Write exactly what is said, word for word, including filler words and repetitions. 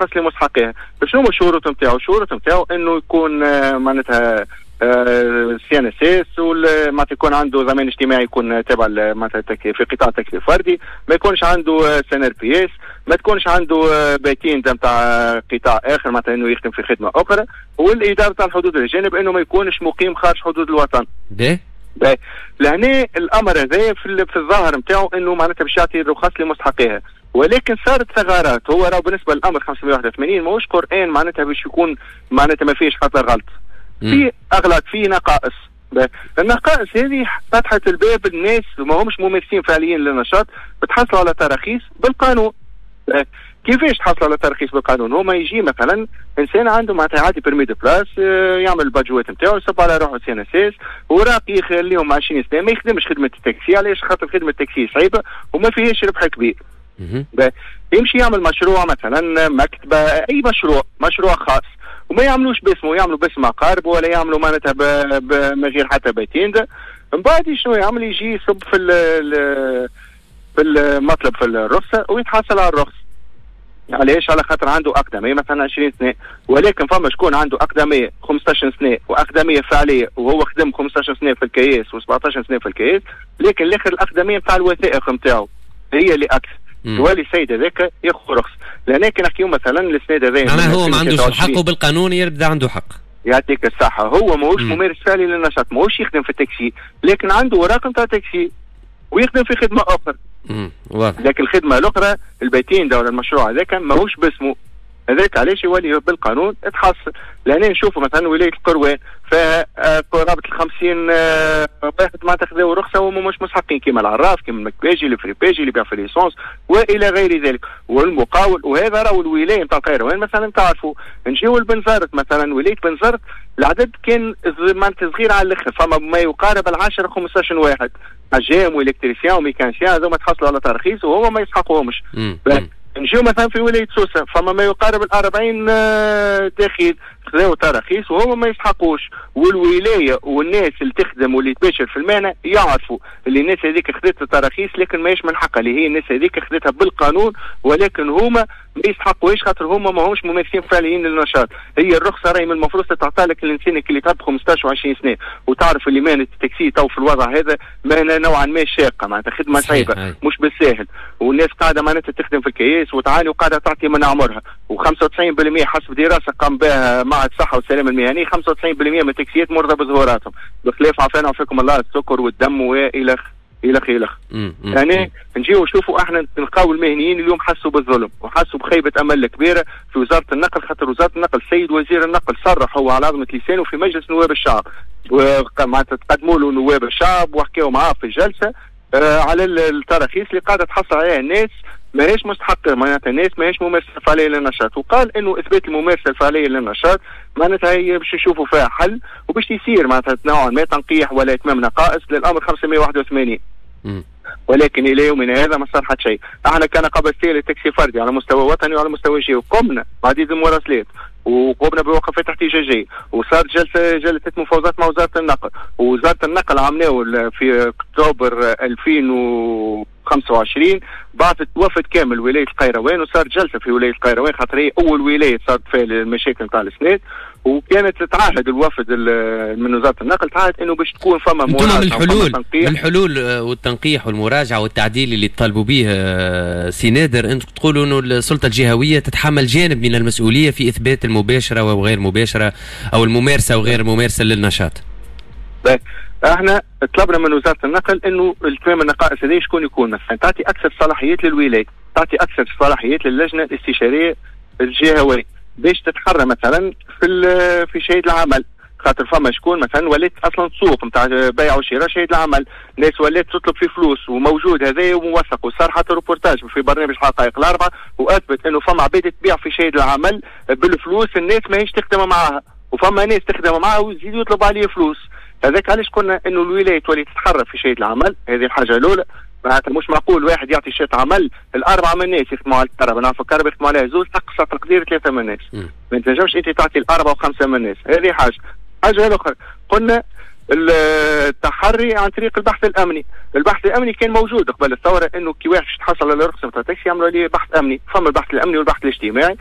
الرخص لمستحقيها. شنو هما الشروط نتاعو؟ الشروط نتاعو انه يكون آه، معناتها CNSS، معناتها يكون عنده ضمان اجتماعي، يكون تابع معناتها في قطاع التاكسي الفردي، ما يكونش عنده SNRPS، ما تكونش عنده patente نتاع قطاع اخر، معناتها انه يخدم في خدمة اخرى، والادارة تاع الحدود الجانب انه ما يكونش مقيم خارج حدود الوطن. باهي. لهنا الامر هذا في, في الظاهر نتاعو انه معناتها باش يعطي الرخص لمستحقيها، ولكن صارت ثغرات. هو راه بالنسبة للامر خمسمية وواحد وثمانين ماهوش قران، معناتها باش يكون معناتها ما فيش حتى غلط، في اغلاط، في نقائص. النقائص هذه فتحت الباب الناس ما همش ممارسين فعليا للنشاط بتحصلوا على تراخيص بالقانون. كيفاش تحصل على ترخيص بالقانون؟ هو ما يجي مثلا انسان عنده معناتها عادي permis de place، آه، يعمل الباجوات نتاعو، يصب على روحه CNSS، وراق يخليهم عشرين سنه، ما يخدمش خدمة التاكسي. علاش؟ خاطر خدمة التاكسي صعيبة وما فيهاش ربح كبير. يمشي يعمل مشروع مثلا مكتبه، اي مشروع، مشروع خاص، وما يعملوش باسمه، يعملوا باسم اقاربه ولا يعملوا معناتها من غير حتى patente. من بعد شنو يعمل؟ يجي يصب في في المطلب في الرخصة ويتحصل على الرخصه. علاش؟ على خاطر عنده اقدميه مثلا عشرين سنه، ولكن فما شكون عنده اقدميه خمسطاش سنة واقدميه فعليه، وهو خدم خمسطاش سنة في الكياس وسبعطاش سنة في الكياس، لكن الاخر الاقدميه نتاع الوثائق نتاعو هي اللي اكثر، يولي السيد هذاك ياخذ رخص. لهنا كي نحكيو مثلا السنة هذا معناها هو ما عندوش الحق وبالقانون يبدا عنده حق. يعطيك الصحة. هو ماهوش ممارس فعلي للنشاط، ماهوش يخدم في التاكسي، لكن عنده اوراق نتاع تاكسي ويخدم في خدمة أخرى. واضح. لكن الخدمة الأخرى ال patente ولا المشروع هذاك ماهوش باسمه، هذاك علاش يولي بالقانون تحصل. لهنا نشوفوا مثلا ولاية القروان فيها آه، قرابة ال خمسين آه، واحد معناتها خذاو رخصه وهم مش مستحقين، كيما العراف، كيما المكباجي، الفريباجي اللي يبيع في l'essence والى غير ذلك، والمقاول. وهذا راهو الولاية نتاع القيروان مثلا تعرفوا. نجيو لبنزرت مثلا، ولاية بنزرت العدد كان معناتها صغير على الاخر، فما ما يقارب العشرة خمسطاش واحد، حجام و électricien و mécanicien، هذوما تحصلوا على ترخيص وهما ما يسحقوهمش. نجيو مثلا في ولاية سوسه، فما ما يقارب ال أربعين آه، دخيل خذاو تراخيص وهما ما يسحقوش. والولاية والناس اللي تخدم واللي تباشر في المهنة يعرفوا اللي الناس هذيك خذت التراخيص لكن ماهيش من حقها، اللي هي الناس هذيك خذتها بالقانون، ولكن هما ما يستحقوهاش خاطر هما ما همش ممارسين فعليين للنشاط. هي الرخصة راهي من المفروض تعطى لك الانسان اللي تعب خمسطاش وعشرين سنه، وتعرف اللي مهنة التاكسي تو في الوضع هذا مهنة نوعا ما شاقه، معناتها خدمة صعيبة مش بالساهل، والناس قاعدة معناتها تخدم في الكياس وتعاني وقاعدة تعطي من عمرها. وخمسة وتسعين بالمية حسب دراسة قام بها معهد الصحة والسلامة المهني، خمسة وتسعين بالمية من التاكسيات مرضى بظهوراتهم، بخلاف عافانا وعافاكم الله السكر والدم والى الى الى يعني نجيو نشوفوا احنا نلقاو المهنيين اليوم حسوا بالظلم وحسوا بخيبه امل كبيرة في وزارة النقل، خاطر وزارة النقل، السيد وزير النقل صرح هو على عظمه لسانه في مجلس نواب الشعب، معناتها تقدموا له نواب الشعب وحكاوا معاه في الجلسة آه على التراخيص اللي قاعدة تحصل عليها الناس ماهيش مستحقه، معناتها الناس ماهيش ممارسة فعليه للنشاط. وقال انه اثبات الممارسة الفعلية للنشاط معناتها هي باش يشوفوا فيها حل وباش يصير معناتها نوعا ما تنقيح ولا اتمام نقائص للامر خمسمية وواحد وثمانين، ولكن الى يومنا هذا ما صار حتى شيء. احنا كنقابة للتاكسي فردي على مستوى وطني وعلى مستوى جهوي قمنا بعديد المراسلات وقمنا بوقفات احتجاجيه، وصارت جلسه جلسه مفاوضات مع وزارة النقل. ووزارة النقل عملناه في اكتوبر ألفين وخمسة وعشرين بعثت وفد كامل ولاية القيروان، وصارت جلسه في ولاية القيروان خاطر هي اول ولاية صارت فيها المشاكل نتاع السناد، وكانت تتعهد الوفد من وزارة النقل تعهد انه باش تكون فما مراجعه من الحلول من الحلول آه، والتنقيح والمراجعه والتعديل اللي تطالبوا به آه، سي نادر، انتم تقولوا انه السلطة الجهوية تتحمل جانب من المسؤولية في اثبات المباشرة وغير المباشرة او الممارسة وغير الممارسة للنشاط. احنا طلبنا من وزارة النقل انه التمام النقائص هذه شكون يكون مثلا تعطي اكثر صلاحيات للولاية، تعطي اكثر صلاحيات للجنة الاستشارية الجهوية باش تتحرى مثلا في في شهادة العمل، خاطر فما شكون مثلا ولات اصلا سوق نتاع بيع وشراء شهادة العمل، ناس ولات تطلب في فلوس، وموجود هذا وموثق، وصار حتى روبورتاج في برنامج حقائق الاربعة واثبت انه فما عباد تبيع في شهادة العمل بالفلوس، الناس ماهيش تخدم معاها، وفما ناس تخدم معاها ويزيد يطلب عليه فلوس. هذاك علاش قلنا انه الولاية تولي تتحرك في شهادة العمل. هذه الحاجة الاولى. معناتها مش معقول واحد يعطي شهادة عمل الاربعة من الناس يخدموا على الكرهبه، نعرفوا الكرهبه يخدموا عليها زوز، اقصى تقدير ثلاثة من الناس، ما تنجمش انت تعطي الاربعة وخمسة من الناس. هذه حاجه. حاجة الاخرى قلنا التحري عن طريق البحث الامني. البحث الامني كان موجود قبل الثوره، انه كي واحد تحصل على رخصه نتاع تاكسي يعملوا عليه بحث امني، فما البحث الامني والبحث الاجتماعي.